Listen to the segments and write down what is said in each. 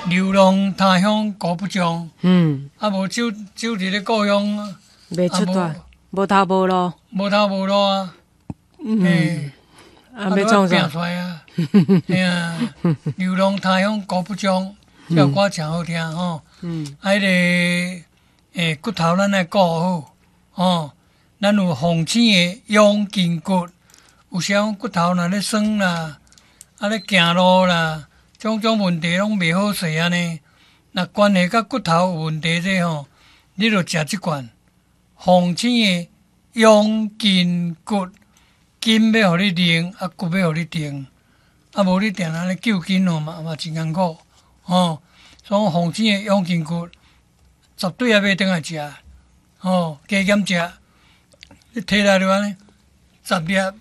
流浪他鄉孤不終，啊無走走佇咧故鄉，袂出帶，無頭無路，無頭無路啊，啊，欲創啥？出來啊，嘿啊，流浪他鄉孤不終，這首歌誠好聽吼。啊，彼个骨頭咱愛顧好，吼，咱有鳳醒的養筋骨，有時講骨頭若咧酸啦，啊咧行路啦，種種問題攏袂好勢按呢。若關係佮骨頭有問題這吼，你就食這罐鳳醒的養筋骨，筋欲予你靈，啊骨欲予你定，啊無你定按呢救筋吼嘛嘛真艱苦，吼。所以鳳醒的養筋骨，絕對愛買轉來食，吼，加減食，你提來就按呢，十粒，啊，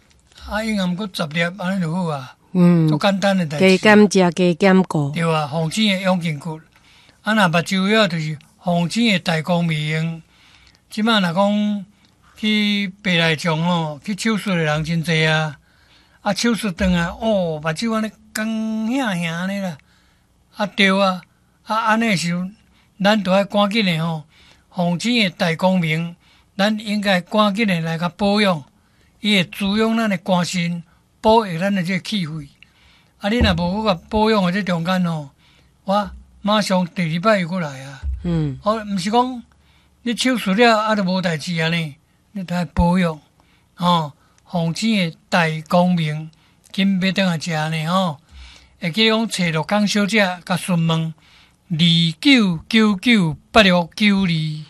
應暗閣十粒，按呢就好啊。足簡單的代誌。加減食，加減顧。對啊，鳳醒的養筋骨，啊，若目睭了就是鳳醒的大光明。這擺若講去白內障吼，去手術的人真濟啊。啊，手術轉來，哦，目睭按呢乾顯顯按呢啦。啊，對啊，啊，按呢時陣，咱著愛趕緊的吼，鳳醒的大光明，咱應該趕緊的來共保養，伊會滋養咱的肝腎，保育咱的這個氣血。啊，你若無閣共保養的這中間吼，我馬上第二擺又閣來啊。哦，毋是講你手術了啊，就無代誌啊呢？你著愛保養，吼，鳳醒的大光明，緊買轉來食呢吼。會記講揣樂江小姐共詢問29998692。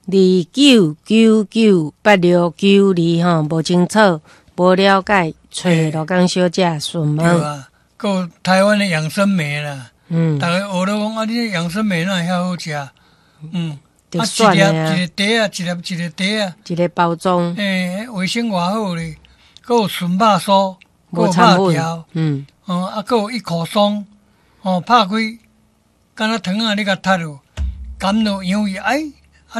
29998692吼，無清楚、無了解，揣樂江小姐詢問。對啊，閣有台灣的養生梅啦，逐家學咧講啊，你這養生梅哪會遐好食？啊，一粒一個袋仔，一粒一個袋仔，一個包裝。欸，衛生偌好咧，閣有純肉酥，閣有肉條，哦，啊，閣有一口鬆，哦，拍開，敢若糖仔你共踢落，含落羊伊，哎。